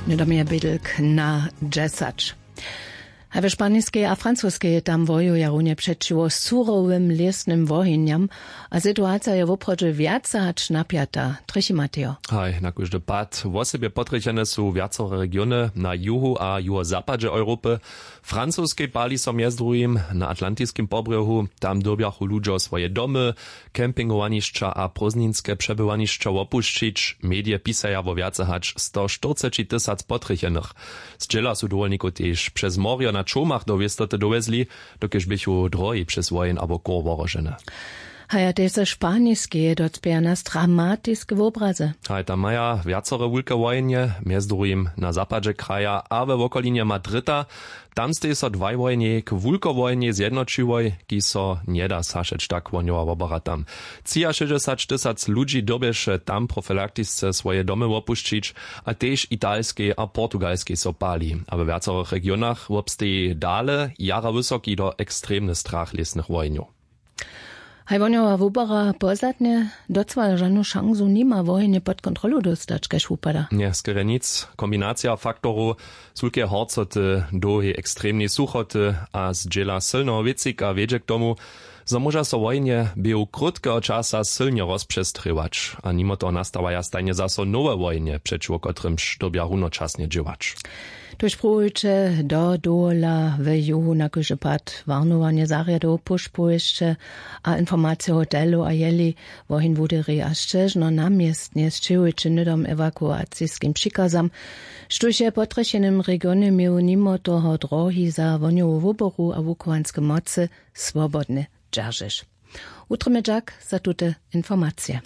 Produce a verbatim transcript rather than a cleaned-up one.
Nydom je bědlk na dźesać. A w španiskej a francoskej tam wojuja runje přećiwo surowym lěsnym wohenjam. A situacija je woprawdźe wjace hač napjata. Trjechi matejo. Haj, na kóždy pad wosebje potrjechene su wjacore regiony na juhu a juhozapadźe europy. W francoskej pali so mjez druhim na atlantiskim pobrjohu. Tam dyrbjachu ludźo swoje domy, campingowanišća a prózdninske přebywanišća wopušćić. Medije pisaja wo wjace hač sto štyrceći tysac potrjechenych. Zdźěla su dowolnikow tež přez morjo na čołmach do wěstoty dowjezli, dokelž běchu drohi přez wojen abo chór wohrožene. Haja tež ze španiskeje docpěja nas dramatiske wobrazy. Haj, tam maja wjacore wulke wojenje, mjez druhim na zapadźe kraja a we wokolinje madrita. Tam steji so dwaj wojenjej k wulkowojenjej zjednoćiłoj, kiž so njeda sašeć tak wohnjowa wobora tam. Třiašěsćdźesać tysac ludźi dyrbješe tam profilaktisce swoje domy wopušćić, a tež italskej a portugalskej so pali. A we wjacorych regionach wobsteji dale jara wysoki do ekstremny strach lěsnych wojenjow. Haj wohnjowa wubora pozdatnje docwale žanu šansu nima wohenje pod kontrolu dóstać, kaž wupada. Nje skerje nic. Kombinacija faktorow, z wulkeje horcoty, dołhej ekstremnej suchoty a zdźěla sylneho wěcika wjedźe k tomu, zo móža so wojenje běhu krótkeho časa sylnje rozpřestrěwać. A nimo toho nastawaja stajnje zaso nowe wojenje, přećiwo kotrymž dyrbja runočasnje dźěłać. Tuž pruwujće do dowola w juhu na kóždy pad warnowanje zarjadow, pušpowěsće a informacije hotelow a jeli woheń wuderji a sćežno na městnje sćěhujće hnydom ewakuaciskim přikazam. Štóž je w potrjechenym regionje měł nimo toho drohi za wohnjowu wuboru a wuchowanske mocy swobodne dźeržeć. Wutrjemy dźak za tute informacije.